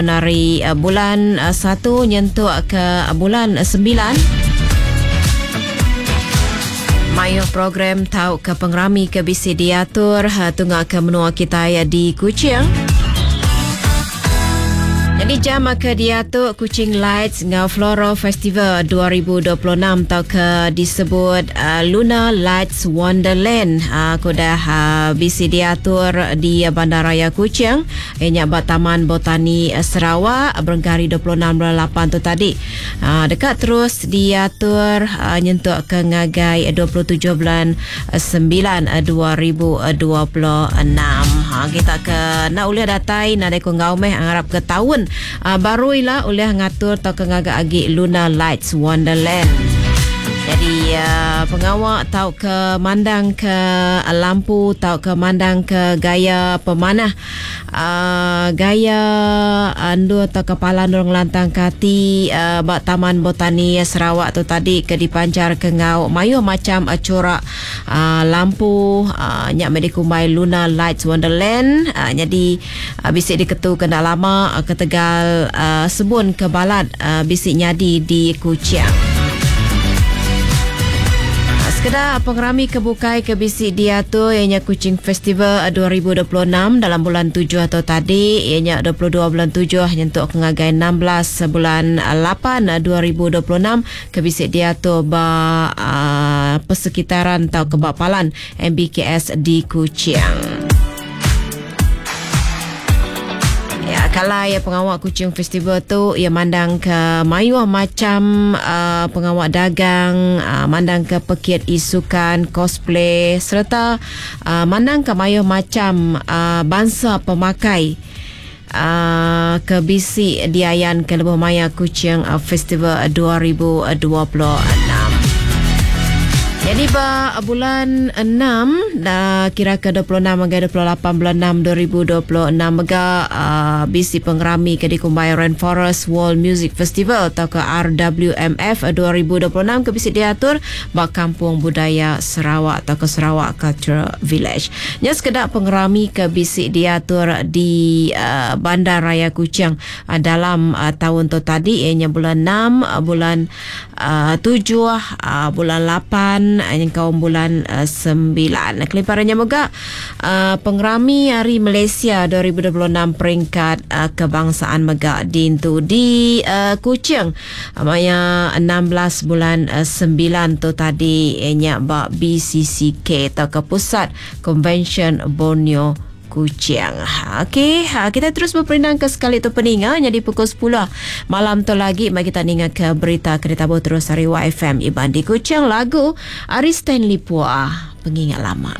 Ari bulan satu nyentuk ke bulan sembilan, mayuh program tauka pengerami ke bisi diatur tunga ke menua kitai di Kuching. Nyadi jam ke diatu Kuching Lights enggau Floral Festival 2026 tauka disebut Luna Lights Wonderland ke udah bisi diatur di Bandaraya Kuching. Iya nya ba Taman Botani Sarawak berengkah hari 26 bulan lapan tu tadi deka terus diatur nyentuk ke ngagai 27 bulan sembilan 2026. Ha kita ke enda ulih datai nadai ku enggau meh ngarap ke taun baru ila ulih ngatur tauka ngaga agi Lunar Lights Wonderland. Jadi pengawa tauka mandang ke lampu tauka mandang ke gaya pemanah Gaya endur tauka palan endur ngelantangka ati ba Taman Botani Sarawak tu tadi ke dipancarka enggau mayuh macham churak lampu nya meh dikumbai Lunar Lights Wonderland nyadi bisi diketuka enda lama ketegal sebun ke balat bisi nyadi di Kuching. Sekeda pengerami ke bukai ke bisi diatur iya nya Kuching Festival 2026 dalam bulan tujuh tu tadi iya nya 22 bulan tujuh nyentuk ke ngagai 16 bulan lapan 2026 ke bisi diatur ba persekitaran tauka ba palan MBKS di Kuching. Ya, kala ya pengawa Kuching Festival tu ya mandang ke mayuh macam uh, pengawa dagang, uh, mandang ke pekit isukan, cosplay sereta uh, mandang ke mayuh macam uh, bansa pemakai uh, ke bisi diayan ke lebuh maya Kuching Festival 2026. Jadi ba bulan 6 da kira ke 26 ngagai 28 bulan 6 2026 mega uh, bisi pengerami ke dikumbai Rainforest World Music Festival atau ke RWMF 2026 ke bisi diatur ba Kampung Budaya Sarawak atau ke Sarawak Cultural Village. Nya sekeda pengerami ke bisi diatur di uh, Bandar Raya Kuching uh, dalam uh, taun tu tadi ianya bulan 6, uh, bulan uh, 7, uh, bulan 8 uh, nyengkaum bulan uh, 9. Kelimpahan nya mega uh, pengerami Hari Malaysia 2026 peringkat uh, kebangsaan mega diintu di uh, Kuching maya 16 bulan uh, 9 tu tadi ianya ba BCCK atau ke Pusat Konvensyen Borneo Kuching. Okey, ha, kita terus berperindang ke sekali tu peninga jadi pukul 10 malam tu lagi mari kita ninga ke berita ke ditabuh terus ari YFM Iban di Kuching lagu ari Stanley Pua Pengingat Lama.